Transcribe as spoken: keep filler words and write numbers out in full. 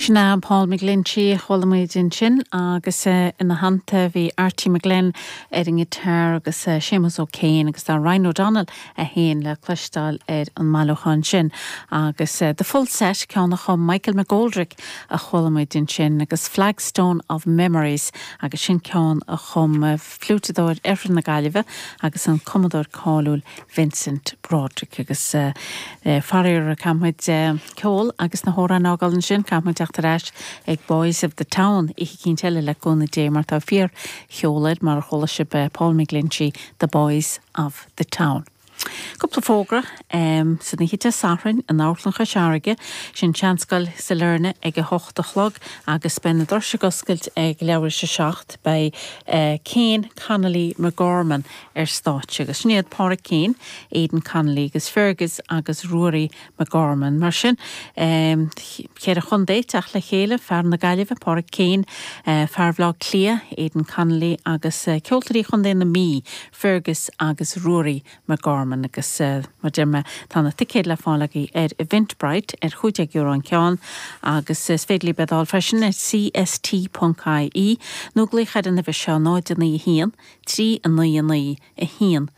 Sin é Paul McGlinchey chuala muid ansin agus ina theannta bhí Archie McGlynn ar an ngiotár agus Séamus O'Kane agus tá Ryan O'Donnell a haon le cloisteáil ar an mbailiúchán sin agus the full set ceann a chum Michael McGoldrick a chuala muid ansin agus Flagstone of Memories agus sin ceann a chum fliúiteadóir Oirthear na Gaillimhe agus an cumadóir cáiliúil Vincent Broderick agus uh, uh, faraor caithfimid uh, ceol agus na hamhráin a fhágáil ansin caithfimid teacht ar ais ag Boys of the Town oíche eicínt eile le cúnamh Dé mar tá fíorcheol air mar chuala sibh Paul McGlinchey, The Boys of the Town. Cúpla fógra um, san oíche Dé Sathairn in Amharclann Chois Fharraige sin Seanscoil Sailearna ag a hocht a chlog agus beidh na doirse ag oscailt ag leathuair tar éis a seacht beidh uh, Kane Connolly McGorman ar stáitse agus sin iad Pádraig Kane, Aidan Connolly agus Fergus agus Ruairí McGorman. Mar sin um, ceithre chontae ag teacht le chéile fear na Gaillimhe Pádraig Kane, uh, fear Bhaile Átha Cliath, Aidan Connolly agus uh, ceoltóirí chontae na Mí, Fergus agus Ruairí McGorman agus uh, mar deir mé tá na ticéid le fáil agaibh ar Eventbrite ar chúig déag euro an ceann agus is féidir libh iad a fháil freisin ar cst.ie nó glaoch ar an uimhir seo náid naoi haon, trí a naoi naoi a haon